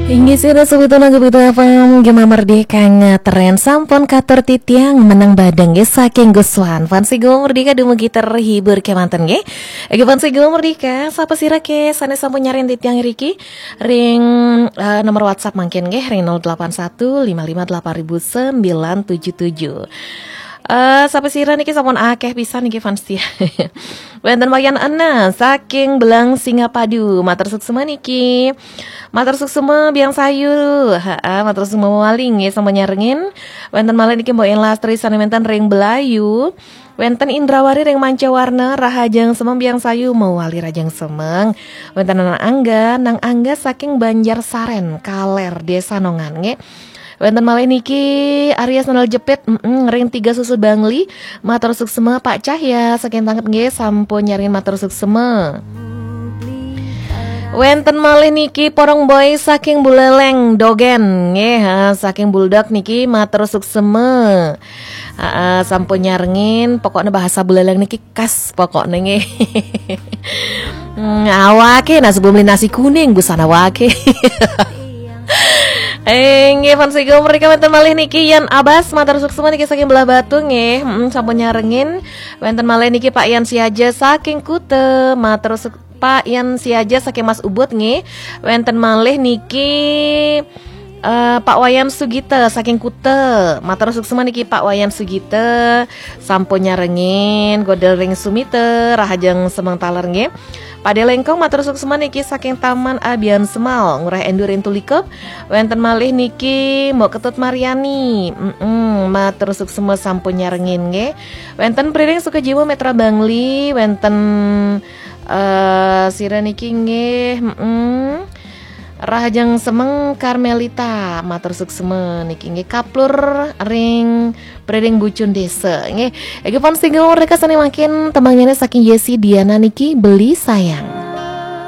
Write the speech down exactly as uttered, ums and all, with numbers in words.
Inggih sira sawetara Gema Merdeka ngetren sampun katur titiang meneng badeng nggih saking Guswan. Fans Gema Merdeka dumugi terhibur kemanten nggih. Nggih fans Gema Merdeka, sapa sira ke sane sampun nyarengin titiang riki ring eh, nomor WhatsApp mangkin nggih ring nol delapan satu lima lima delapan ribu sembilan tujuh tujuh. Eh, sapa sira niki sampun akeh pisan niki fans setia. Wenten Wayan Ena saking Belang Singapadu. Matur suksma niki. Matur suksma Biang Sayu. Heeh, matur suksma malih nggih sampun nyarengin. Wenten malih niki Mbok Yen Lastri sane wenten ring Belayu. Wenten Indrawari ring Mancawarna, rahajeng semeng Biang Sayu mawali rahajeng semeng. Wenten Nang Angga, Nang Angga saking Banjar Saren, Kaler, Desa Nongan nggih. Wenten malih niki Arya Sandal Jepit, mm, ring Tiga Susu Bangli. Matur suksma Pak Cahya saking Tanget nggih sampun nyarengin matur suksma. Wenten malih niki Porong Boy saking Buleleng Dogen nggih, ha, saking Buldak niki matur suksma. Heeh, sampun nyarengin pokoknya bahasa Buleleng niki khas pokoknya nggih. Hmm, awake nah sebelum beli nasi kuning busana wake. Eh, nggih fans Gema Merdeka wenten malih niki Yan Abas matur suksma niki saking Belah Batu nggih. Mm, sampun nyarengin. Wenten malih niki Pak Yan Siaja saking Kute matur suk- Pak Yan Siaja saking Mas Ubud nggih. Wenten malih niki eh, Pak Wayan Sugita saking Kute. Matur suksma niki Pak Wayan Sugita sampun nyarengin godel ring Sumita rahajeng semeng taler nggih. Pade Lengkong matur suksma niki saking Taman Abian Semal, Ngurah Endur ring Tulikup. Wenten malih niki Mbok Ketut Mariani. Mm-mm, matur suksma sampun nyarengin nggih. Wenten Priring Sukajiwa Metra Bangli, wenten eh sira niki nggih. Mm-mm. Rahajeng semeng Karmelita, matur suksma niki nggih kaplur ring Priring Bucun Desa nggih. Iki fans Gema Merdeka sane mangkin tembangnyané saking Yesi Diana niki Beli Sayang.